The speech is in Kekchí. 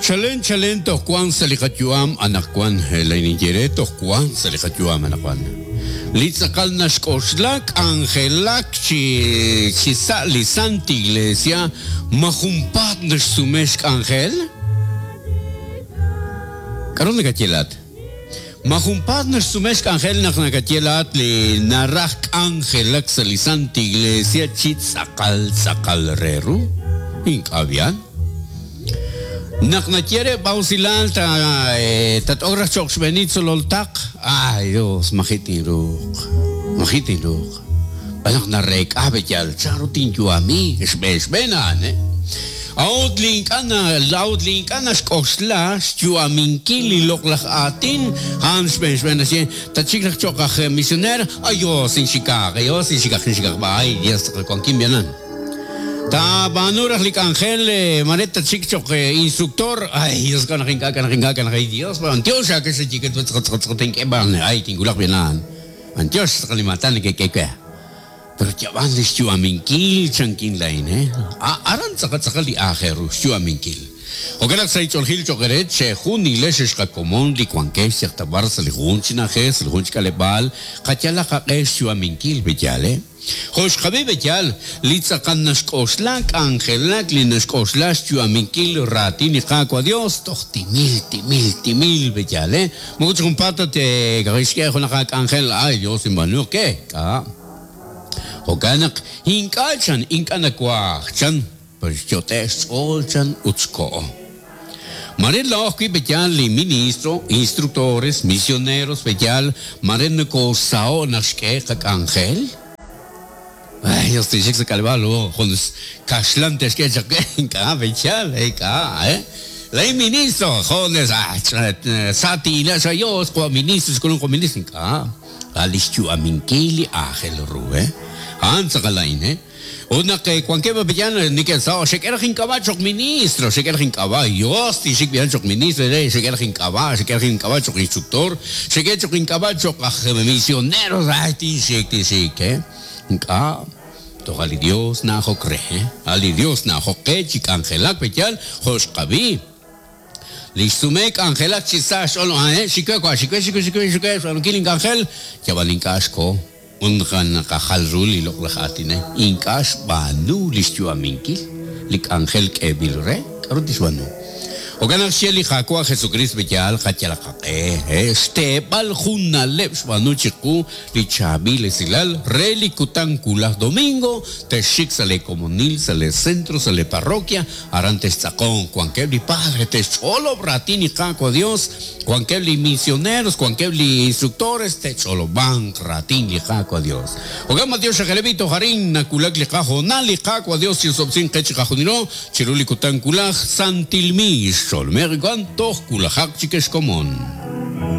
Chalen chalen toj wank sa' li qayu'am anaqwan, laa'in ninye eere, toj wank sa' li qayu'am anaqwan. Li tz'aqal naxk'oxla k'anjelak chi chi sa' li Sant Iglesia ma junpaat naxsume xk'anjel? K'aru nakaye laa'at? Ma junpaat naxsume xk'anjel naq nakaye laa'at li naraj k'anjelak sa' li Sant Iglesia chi tz'aqal tz'aqal re ru? Ink'a' b'i'an. Naq naye re b'awsilal ta tat'ok raj cho'q xb'eenil tzolol taq, ay Dios, maji' tinruuq, maji' tinruuq. Xb'aan naq nareek'a b'eyal chanru tinyu'ami, xb'een xb'een a'an, eh. A'ut li ink'a' a'ut li ink'a' naxk'oxla xyu'aminkil li loq'laj aatin, a'an xb'een xb'een naxye, Tatxik raj cho'q aj misioneer, ay Dios, inxikaq, ay Dios, inxikaq, inxikaq, ay Dios, wankin b'ianan. Taab'aanu raj li k'anjel mare tatxik cho'q instructor, ay Dios k'a' naq ink'a' k'a' naq ink'a' k'a' naq ay Dios b'antiox aake xaye tink'e b'an ay tinwulaq b'an a'an b'antiox tz'aqal li maatan neke'k'e we. Pero yab'an li xyu'aminkil chankin laa'in he aran tz'aqal tz'aqal li aajel ru xyu'aminkil. Jo'kan naq sa' li ch'oolejil cho'q eere chejunilex ex qakomon li wankex yaq ta b'ar sa' li jun chi na'ajej sa' li jun chi k'aleb'aal qayalaq qaq'e xyu'aminkil pe yaal he. Jo' xqab'i b'eyal, li tz'aqal naxk'oxla k'anjelak li naxk'oxla xyu'aminkil raatin li Qaawa' Dios toj timil, timil, timil b'eyal, eh? Moko chi junpaat ta te'xk'e junaq aak'anjel, ay Dios inb'aanuq ke, k'a'. Jo'kan naq ink'a' chan, ink'a' nawaj chan, pero xyot'e' xch'ool chan ut xko'o. Mare laa'o ajwi' b'eyal li ministro, instructores, misioneros b'eyal, mare nokoosaho' naq xk'e qak'anjel. Ay, Dios tinxik sa' k'aleb'aal o jun kaxlan te'xk'e chaq we, ink'a' b'eyal, ink'a', eh. Laa'in ministro, jones, ah, sa tin'ila' sa' Dios, jo' ministro, xk'ulunk jo' ministro, ink'a'. A' li xyu'aminkil li aajel ru, eh. A'an tz'aqal a'in, eh. Ut naq wankeb' b'ab'iyal neke'saho', xek'e raj ink'ab'a' cho'q ministro, xek'e raj ink'ab'a', Yos tinxik b'ihan cho'q ministro re, xek'e raj ink'ab'a', xek'e raj ink'ab'a' cho'q instruktor, xek'e cho'q ink'ab'a' cho'q aj misionero, ay tinxik, tinxik, eh. Ink'a', toj a' li Dios na'ajok re, eh. A' li Dios na'ajok qe chi k'anjelak b'eyal jo' xqab'i. Li xsume k'anjelak chi sa xch'ool, eh, xik we, wa', xik we, xik we, xik we, xik we, xb'aanunkil ink'anjel, yab'an ink'a' xko. Ut naqajal ru li loq'laj aatin a'in, ink'a' xb'aanu li xyu'aminkil li k'anjel k'eeb'il re, k'aru tixb'aanu? Jo'kan naq xye li Qaawa' Jesukriist B'eyal qayalaq qaq'e, xteeb'al jun na'leb' xb'aanu chiqu li chaab'il esilal re li kutan wulaj domingo, texxik sa' lee komonil, sa' lee centro, sa' lee parroquia, Aran textz'aqonq, wankeb' li padre te'xch'olob' raatin li Qaawa' Dios, wankeb' li misioneros, wankeb' li instructores te'ch'olob'anq raatin li Qaawa' Dios. Jo'kan matiox aj Elevito toj arin nawulak li qahoonal, li Qaawa' Dios chirosob'sinq qe chiqajunilo chiru li kutan wulaj, santil miix, xolmeq wan toj wulajaq chik ex komon.